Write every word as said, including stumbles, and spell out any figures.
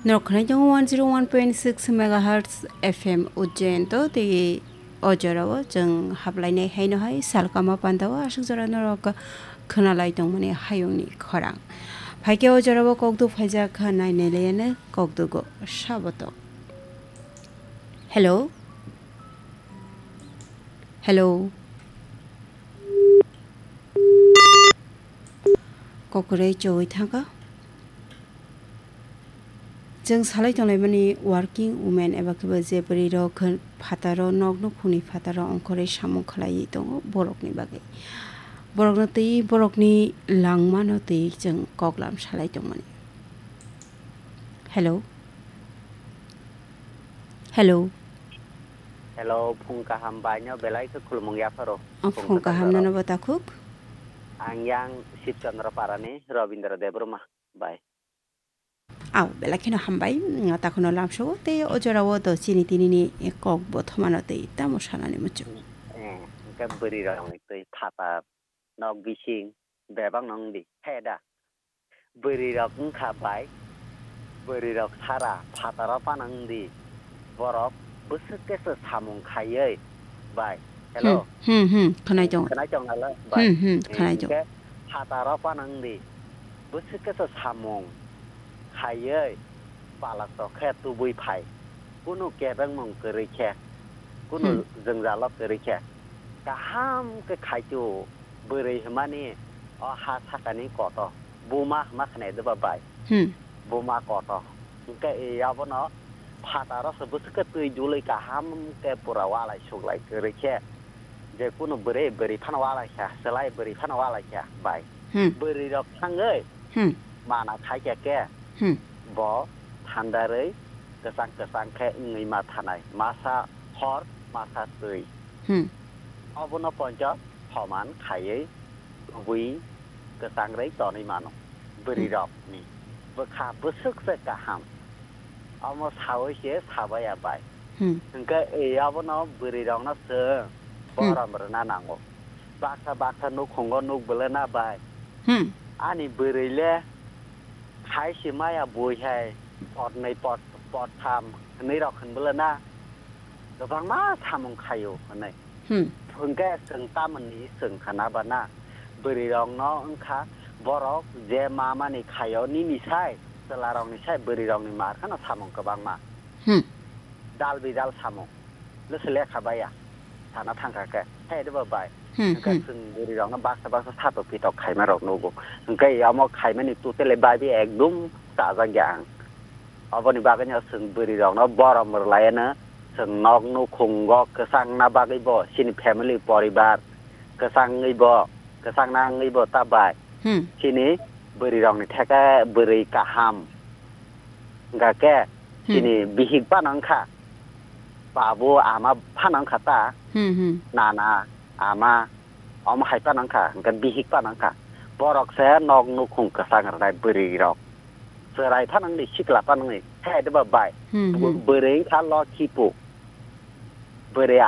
Norok khwnai tongo one zero one point six megahertz F M Ujjain to tei o jorao chwng hablainai haino hai salkama pandao aswk jora norok khwnalai tongmani hayungni khorang. Phaikhe o jorao kokduk phaijak kha nainai laiano kokdugo saboto. Hello? Hello? Kokroi chowui thangkha. Chwng salai tonglaimani working women eba khe bo je bwrwi rok khe phataro nok nukhungni phataro ongkhorwi samung khlaiwi tongo borokni bagwi. Borokno twi borokni langmano twi chwng koklam salai tongmani. Hello. Hello. Hello, phung kaham bai no belai khe khulumung yapharo. O phung kaham nono bo takhuk. Ang yang Shibchandra Parani Robindra Debbarma bai. Aw, belai kheno hambai. Mm, takhuno lamsao tei o jorao do chini tinini kok bo thomano tei tamo sanani muchung. Eh, hwnkhe bwrwi rokni twi phatar nok bising bebak no wngdi. He da? Bwrwi rok wngkha bai, bwrwi rok sara phataro phano wngdi, borok bwswk khe se samung khaiwi bai. Hello? Hmm, hmm, hmm, khwnai tongo. Khwnai tong nalo bai. Hmm, hmm, khwnai tongo. Hwnkhe phataro phano wngdi, bwswk khe se samung khaiwi palak tok khe tubui phai. Kunu kebengmung kwrwi khe, kunu Hmm. jwngjalo kwrwi khe, kaham khe khaitu bwrwi hwnmani o ha sakani koto, buma hwnma khwnai doba bai. Hmm. Buma koto. Hwnkhe e abono phataro se bwswk khe twi dului kaham khe pura walai suklai kwrwi khe, je kunu bwrwi, bwrwi phano walai kha, chwlai bwrwi phano walai kha bai. Hmm. Bwrwi rok thangwi Hmm. mana khai khe khe Hmm. bo thandarwi kwchang kwchang khe wngwi ma thanai, masa hor masa twi. Hmm. Obono poncho thoman khaiwi kubui kwchang rwi tonwi mano. Bwrwi Hmm. rokni bwkha bwswk se kaham. Omo sawi se sabaya bai. Hmm. Hwnkhe e abono bwrwi rokno chwng Hmm. borom rwna nango. Baksa baksa nukhungo nuk bwlana bai. Hmm. Ani bwrwi le khai se maya bui hai pot nai pot, pot tham hwnwi rok hwn bwlana kwbangma samung khaio hwnwi. Hmm. Hwnkhe chwng tamoni chwng khana bana bwrwi rokno wngkha borok je ma mani khaio nini sai chwla rokni sai bwrwi rokni mar khano samung kwbangma. Hmm. Dal bidal samung. Nw se lekha baya. Sana thangkha khe. He de ba bai. Hmm, Hwnkhe hmm. chwng bwrwi rokno baksa baksa satok pitok khaima rok nugo. Hwnkhe omo khaimani totally bai bi ekdum chajak ya ang. Oboni bagwino chwng bwrwi rokno borom rwlaiano chwng nok nukhungo kwchangna bagwi bo chini family poribar kwchangwi bo kwchangna wngwi bo ta bai. Hmm. Chini bwrwi rokni theke bwrwi kaham. Hwnkha khe Hmm. chini bihik phano wngkha. Babu ama phano wngkha ta. Hmm, hmm. Nana, ama, omo hai phano wngkha. Hwnkhe bihik phano wngkha. Borok se nok nukhung kwchang rwnai bwrwi rok. Chwrai phano wngdi, sikla phano wngdi. He de ba bai. Hmm, hmm. Bwrwi wngkha lokhi pu. Bwrwi